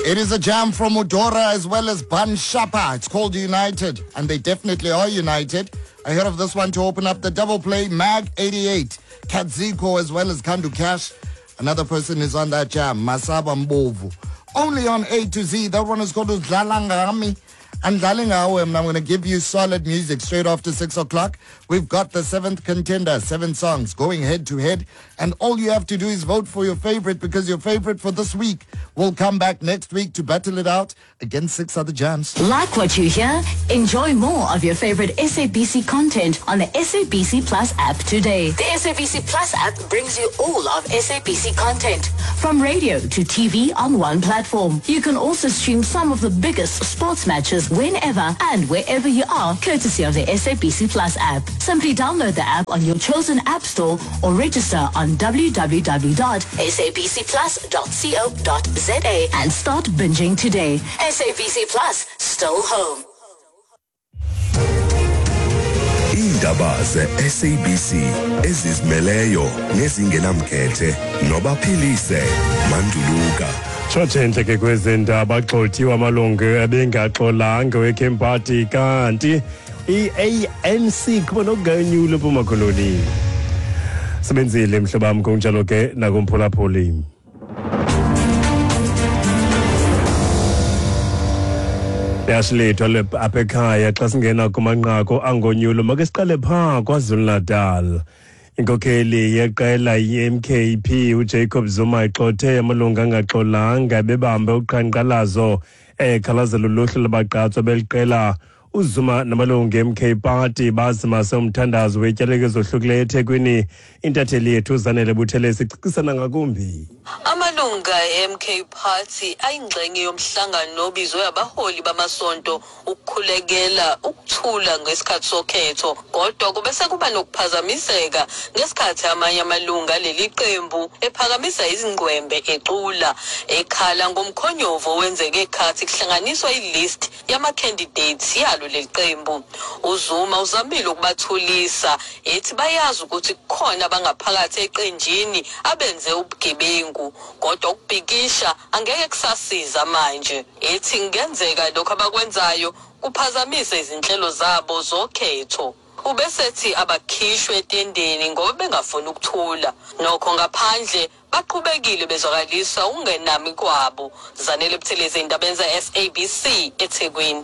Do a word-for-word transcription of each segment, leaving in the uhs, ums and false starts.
It is a jam from Odora as well as Ban Shapa. It's called United, and they definitely are united. Ahead of this one to open up the double play, Mag eighty-eight, Katziko as well as Kandu Cash. Another person is on that jam, Masaba Mbovu. Only on A to Z. That one is called Dlalangami. And Dlalingawe, and I'm going to give you solid music straight after six o'clock. We've got the seventh contender, seven songs going head to head. And all you have to do is vote for your favorite, because your favorite for this week will come back next week to battle it out against six other jams. Like what you hear? Enjoy more of your favorite S A B C content on the S A B C Plus app today. The S A B C Plus app brings you all of S A B C content, from radio to T V on one platform. You can also stream some of the biggest sports matches whenever and wherever you are, courtesy of the S A B C Plus app. Simply download the app on your chosen app store or register on w w w dot s a b c plus dot co dot z a and start binging today. S A B C Plus, still home. Iindaba ze-S A B C ezizimeleyo nezingenamkhethe nobaphilise Manduluka. Tshotshentle ke kwezendaba, agxothiwe amalungu ebengaxolanga we-Camp Party, kanti i-A N C kuba nokuganyula eMpuma Koloni. Sebenzile mhlobo wam, kunjalo ke nakumphulaphuli. Yashilethu apha ekhaya xa singena kumanqaku angonyulo, make siqale phaa KwaZulu-Natal. Inkokheli yeqela i-M K P uJacob Zuma igxothe amalungu angaxolanga bebambe uqhankqalazo ekhalazela uluhlu lwabagqatswa beliqela. uZuma namalungu e-M K Party bazimase umthandazo wetyalike ezohlukileyo eThekwini. Intatheli yethu uZanele Buthelezi icacisana ngakumbi. Amalunga e-M K Party ayingxenye yomhlangano obizwe abaholi bamasonto ukukhulekela ukuthula ngesikhathi sokhetho, kodwa kube sekuba nokuphazamiseka ngesikhathi amanye amalunga leli qembu ephakamisa izingqwembe ecula ekhala ngomkhonyovu owenzeke ekhathi kuhlanganiswa i-list yama-candidates yalo leli qembu. uZuma uzamile ukubathulisa ethi bayazi ukuthi kukhona abangaphakathi eqenjini abenze ubugebengu, kodwa ukubhikisha angeke kusasiza manje. Ethi kungenzeka lokho abakwenzayo kuphazamise izinhlelo zabo zokhetho. Ubesethi abakhishwe etendeni ngoba bengafuni ukuthula. Nokho ngaphandle baqhubekile bezwakalisa ukungenami kwabo. Zanele Buthelezi, indaba ze-S A B C eThekwini.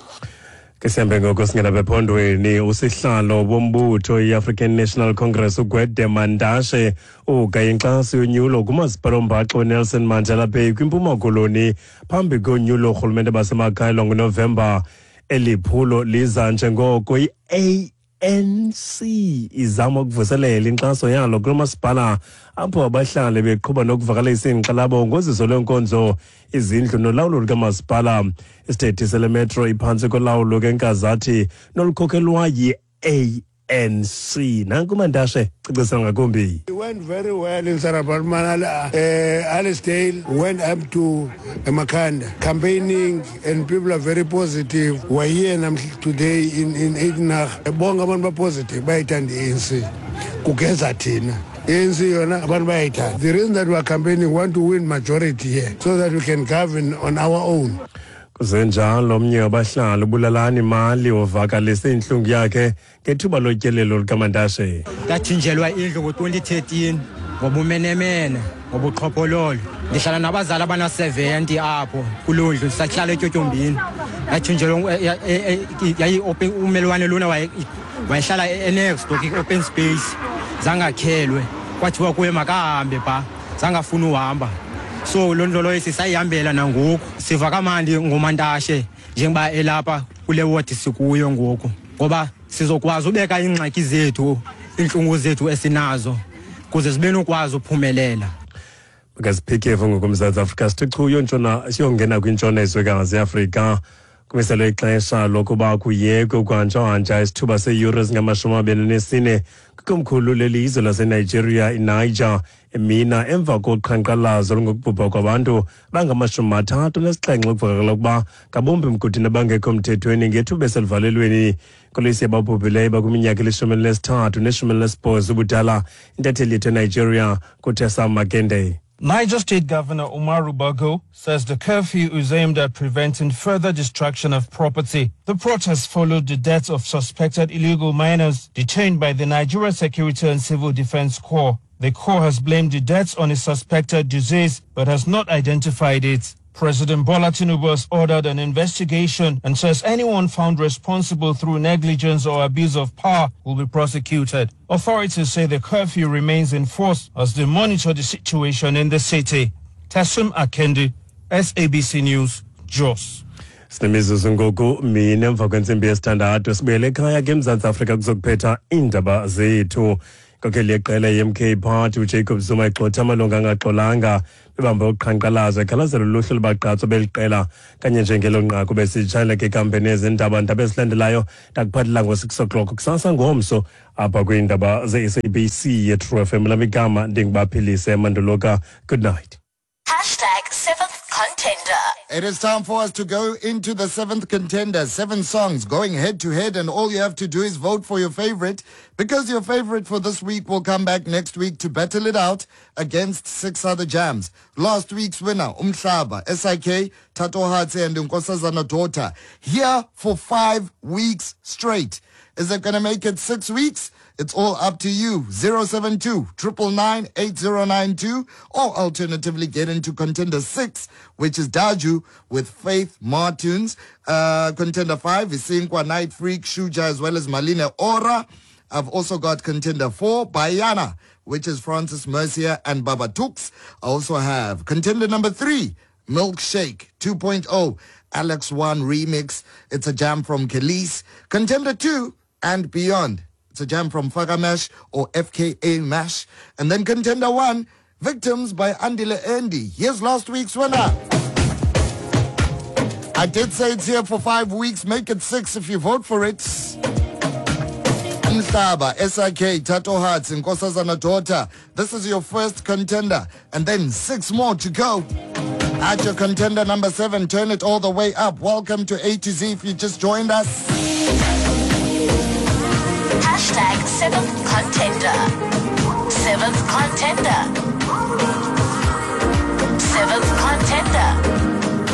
Ke sihambe ngoko singena bephondweni. Usihlalo wombutho i-African National Congress uGwede Mandashe ugaye inkxaso yonyulo kumasipala ombaxo weNelson Mandela Bay kwiMpuma Koloni phambi konyulo urhulumente basemakhaya ngoNovemba. Eli phulo liza njengoko i-A N C izama ukuvuselela inkxaso yalo kulo masipala, apho abahlali beqhuba nokuvakalisa iinkxalabo ngoziso lwenkonzo, izindlu nolawulo lukamasipala. Isithethi sele metro iphantsi kolawulo kenkazathi nolukhokhelwa yi-A N C. Nanku Mandashe cacisa ngakumbi. It went very well in Sarah Baartman. Uh, Alicedale went up to Makanda, campaigning, and people are very positive. We're here today in in Edenhage. Bonke abantu ba positive, bayithanda i-A N C. Kugeza thina. A N C yona abantu bayayithanda. The reason that we are campaigning, we want to win majority here so that we can govern on our own. Kusenjalo, omnye wabahlali uBulalani Mali uvakalise intlungu yakhe ngethuba lotyelelo lukaMandashe. Ndathinjelwa indlu ngo-twenty thirteen ngobumenemene, ngobuqhophololo. Ndihlala nabazali abana-seventy apho kuloo ndlu, ndisahlala etyotyombini. Ndathinjelwa yayi-open, umelwane lona wayehlala e-next door, i-open space, zangakhelwe. Kwathiwa kuye makahambe phaa, zangafuna uhamba. So loo nto loyo sisayihambela nangoku. Siva kamandi ngoMantashe njengoba elapha kule ward sikuyo ngoku, ngoba sizokwazi ubeka iingxaki zethu, iintlungu zethu esinazo kuze sibe nokwazi uphumelela. Makasiphikevo ngokuMzantsi Afrika sithi chu yontshona, siyongena kwintshona yezwekazi yeAfrika. Kumiselwe ixesha lokuba kuyekwe ukuhanjahanja isithuba seeyure ezingamashumi amabini nesine kwikomkhulu lelizwe laseNigeria iNiger emina emva koqhankqalazo olungokubhubha kwabantu bangamashumi mathathu nesixhenxe kuvakala ukuba ngabombi mgodini abangekho mthethweni ngethuba eseluvalelweni. Inkoliso yababhubhileyo bakwiminyaka elishumi elinesithathu neshumi elinesibhozo ubudala. Intatheli yethu eNigeria kuTessa Makende. Niger State Governor Umaru Bago says the curfew is aimed at preventing further destruction of property. The protests followed the deaths of suspected illegal miners detained by the Nigeria Security and Civil Defense Corps. The Corps has blamed the deaths on a suspected disease but has not identified it. President Bola Tinubu has ordered an investigation and says anyone found responsible through negligence or abuse of power will be prosecuted. Authorities say the curfew remains in force as they monitor the situation in the city. Tasum Akendi, S A B C News, Jos. Sinemizuzu ngoku mine emva kwentsimbi yesithandathu sibuyele ekhaya ke eMzantsi Afrika kuzokuphetha iindaba zethu. Inkokheli yeqela ye-M K Party uJacob Zuma igxotha amalungu angaxolanga bebambe uqhankqalazo ekhalazela uluhlu lwabagqatswa beli qela kanye njengelo nqaku besitshayela ke ikampeni yezindaba. Ndaba ezilandelayo ndakuphathela ngo-six o'clock kusasa ngomso apha kwiindaba ze-S A B C ye-True F M. Lam igama ndinguBaphilise Manduluka. Good night. Hashtag seventh contender. It is time for us to go into the seventh contender. Seven songs going head to head, and all you have to do is vote for your favorite, because your favorite for this week will come back next week to battle it out against six other jams. Last week's winner, Umhlaba, S I K, Thatohatsi and Nkosazana Daughter, here for five weeks straight. Is it gonna make it six weeks? It's all up to you. zero seven two, triple nine, eight zero nine two, or alternatively get into contender six, which is Daju with Faith Martins. Uh, contender five is Sinkwa, Night Freak, Shuja, as well as Malina Ora. I've also got contender four, Bayana, which is Francis Mercier and Baba Tux. I also have contender number three, Milkshake two point oh, Alex One Remix. It's a jam from Kelis. Contender two and Beyond. It's a jam from Fagamesh or F K A Mash. And then contender one, Victims by Andile Andy. Here's last week's winner. I did say it's here for five weeks. Make it six if you vote for it. Umhlaba, S I K, Thatohatsi, Nkosazana Daughter. This is your first contender. And then six more to go. At your contender number seven, turn it all the way up. Welcome to A to Z if you just joined us. Hashtag seventh contender. Seventh contender. Seventh contender.